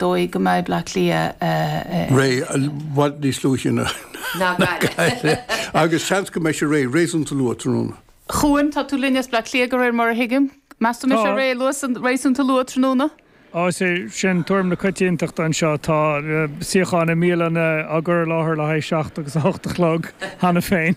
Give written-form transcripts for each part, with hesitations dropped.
Dóigh go mbeidh Bleá Cliath réidh i bhfad níos luaithe ná Gaillimh agus seans go mbeidh sé réidh réasúnta luath tráthnóna. Chuan, tá tú linn as Bleá Cliath de réir mar a thuigim. Meas tú an mbeidh sé réidh réasúnta luath tráthnóna? Á, is é sin tuairim na coitiantachta anseo. Tá suíocháin i mbialanna á gcur i láthair le haghaidh 7 agus 8 a chlog cheana féin.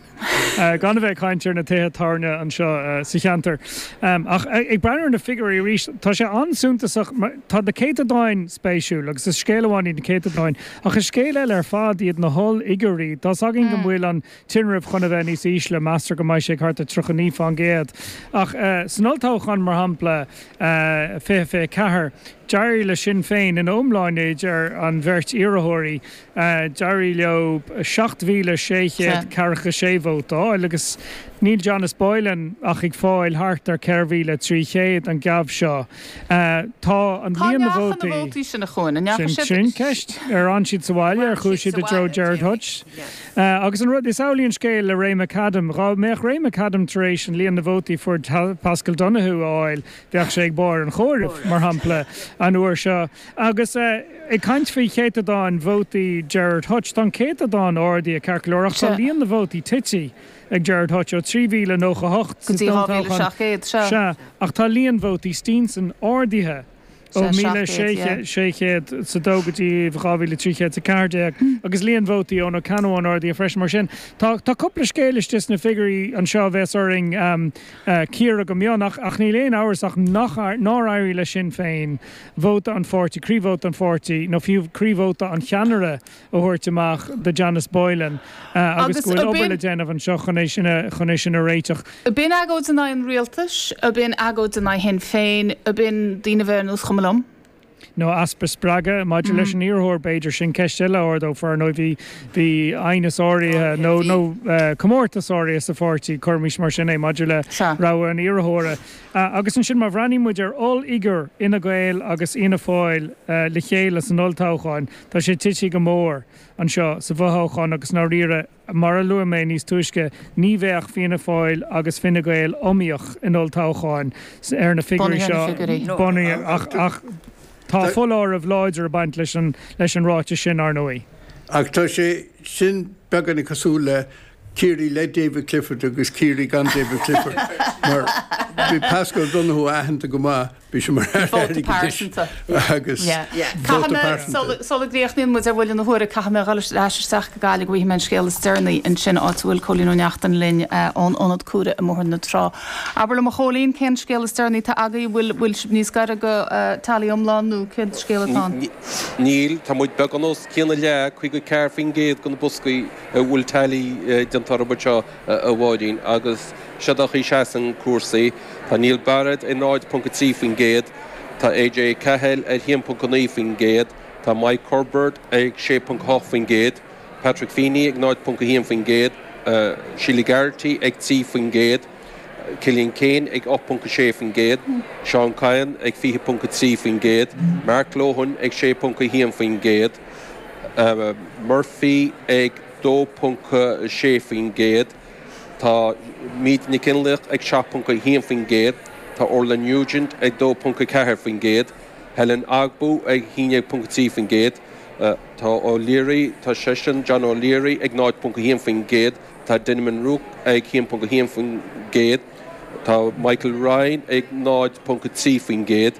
Gan a bheith ag caint ar na tithe tábhairne anseo sa cheantar. Ach ag breathnú ar na figiúirí arís, tá sé an-suntasach, tá na céatadáin spéisiúil agus is scéal amháin iad na céatadáin, ach is scéal eile ar fad iad na hollfhigiúirí. Tá's againn go bhfuil an tinreamh chun a bheith níos ísle, meastar go mbeidh sé ag thart ar 39%. Ach san olltoghchán, mar shampla, 2024, d'éirigh le Sinn Féin ina iomláine idir an bheirt iarrthóirí, D'éirigh leo 7,646 vóta a fháil agus níl Janice Boylan ach ag fáil thart ar 4,300 an geábh seo. Tá an Cá líon na ndeacha na vótaí. vótaí sin, a Chuain? An ndeacha Sin, siad. sin ceist. Ar fhan siad sa bhaile? Ar chuaigh siad i dtreo Gerard Hutch? Agus an rud, is amhlaidh an scéal le Ray McAdam. Dhá mbeadh Ray McAdam tar éis an líon na vótaí a fuair Paschal Donohoe a fháil, bheadh sé ag barr an chomhairimh, mar shampla, an uair seo. Agus ag caint faoi chéatadáin vótaí Gerard Hutch, tá an céatadán ardaithe ceart go leor ach tá líon na vótaí tite ag Gerard Hutch ó 3,098 Go sa dtí olltoghchán. 2,700, sea. Sea, ach tá líon vótaí Steenson ardaithe ó Sea, 700, yeah. 1,602 go dtí 2,314 agus líon vótaí Eoin Ó Ceannabháin ardaithe freisin. Mar sin, tá cúpla scéal istigh sna figiúirí anseo a bheas orainn cíoradh go mion ach níl aon amhras ach nár éirigh le Sinn Féin vóta an pháirtí, croívóta an pháirtí, nó fiú croívóta an cheannaire a thabhairt amach do Janice Boylan agus go bhfuil obair le déanamh anseo chun é sin a, chun é sin a réiteach. Ab in agóid in aghaidh an rialtais? Ab in agóid in aghaidh Shinn Féin? Ab in daoine a bheith ar nós cuma liom? Nó easpa spreagadh maidir leis an iarrthóir, b'fhéidir? Sin ceist eile a ardófar, ar ndóigh. Bhí, bhí aighneas áirithe nó, nó comórtas áirithe sa pháirtí, cuirimis mar sin é, maidir le rogha an iarrthóra. Agus ansin má bhreathnaíonn muid ar ollfhigiúr Fhine Gael agus Fhianna Fáil le chéile san olltoghchán, tá sé tite go mór anseo sa bhfothoghchán agus i ndáiríre, mar a luaigh mé níos túisce, ní bheadh Fianna Fáil agus Fine Gael iomaíoch in olltoghchán ar na figiúirí seo bunaithe ach ach tá foláireamh láidir ag baint leis an leis an ráiteas sin, ar ndóigh. Ach tá sé sin beagáinín cosúil le Ciarraí le David Clifford agus Ciarraí gan David Clifford mar bhí Paschal Donohoe aitheanta go maith, bhí sé mar Aire Airgeadais agus vóta pearsanta. Sula gcríochnaíonn muid ar bhuille na huaire, caithfidh mé a dhul ar ais isteach go Gaillimh go bhfaighidh mé an scéal is deireanaí ansin, áit a bhfuil Cóilín Ó Neachtain linn ón Ionad Cuaire i mBóthar na Trá. Abair liom a Chóilín, cén scéal is deireanaí atá agaibh? Bhfuil bhfuil sibh níos gaire go tally iomlán nó cén scéal atá ann? Níl, tá muid beagán os cionn a leath, 54% de na boscaí. a bhfuil tally déanta orthu anseo, a Mháirín, agus seo an chaoi a seasann cúrsaí. Tá Neil Barrett ar 0.3%, tá AJ Cahill ar 1.9%, tá Mike Culbert ag 6.8%, Patrick Feeney ag 0.1%, Sheila Geraghty ag 3%, Cillian Keane ag 8.6%, Seán Kyne ag 20.3%, Mark Lohan ag 6.1%, Murphy ag 2.6%, tá Míde Nic Fhionnlaoich ag 7.1%, tá Orla Nugent ag 2.4%, Helen Ogbu ag 11.3%, tá O'Leary, tá seisean, John O'Leary ag 0.1%, tá Denman Rook ag 1.1%, tá Michael Ryan ag 0.3%,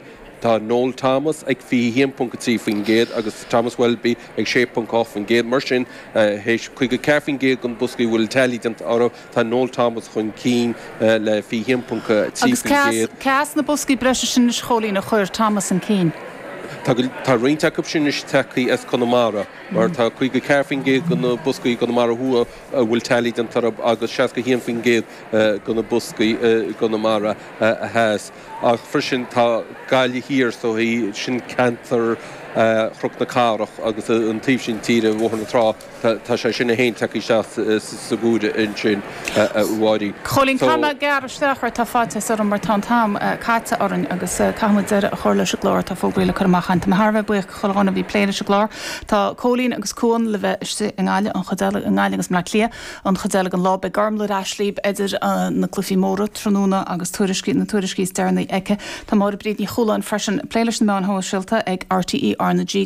Tá Noel Thomas ag 21.3% agus Thomas Welby ag 6.8%. Mar sin, théis 54% de na boscaí a bhfuil tally déanta orthu, tá Noel Thomas chun cinn le 21.3%. Agus cé as na boscaí breise sin anois, a Chóilín, a chuir Thomas chun cinn? Tá roinnt acu sin anois tagtha as Conamara, mar tá 54% de na boscaí i gConamara Thuaidh a bhfuil tally déanta orthu agus 61% de na boscaí i gConamara Theas. Ach freisin tá Gaillimh Thiar so sin ceantar Chnoc na Cathrach agus an taobh sin tíre, Bhóthar na Trá, tá sé sin féin tagtha isteach sa gcomhaireamh ansin, a Mháirín. Chóilín, caithfidh mé gearradh isteach ort, tá faitíos orm mar tá an t-am caite orainn agus caithfidh muid deireadh a chur leis an gclár, tá fógraí le cur amach againn. Tá mé thar a bheith buíoch de chuile dhuine a bhí ag plé leis an gclár. Tá Cóilín agus Cuan le bheith istigh i nGaillimh, an chuid eile i nGaillimh agus i mBleá Cliath. An chuid eile den lá, beidh Gormlaith ar ais libh idir na cluichí móra tráthnóna agus tuairiscí, na tuairiscí is deireanaí aici. Tá Máire Bríd Ní Chualáin freisin ag plé leis na meáin shóisialta ag RTÉ. R na G.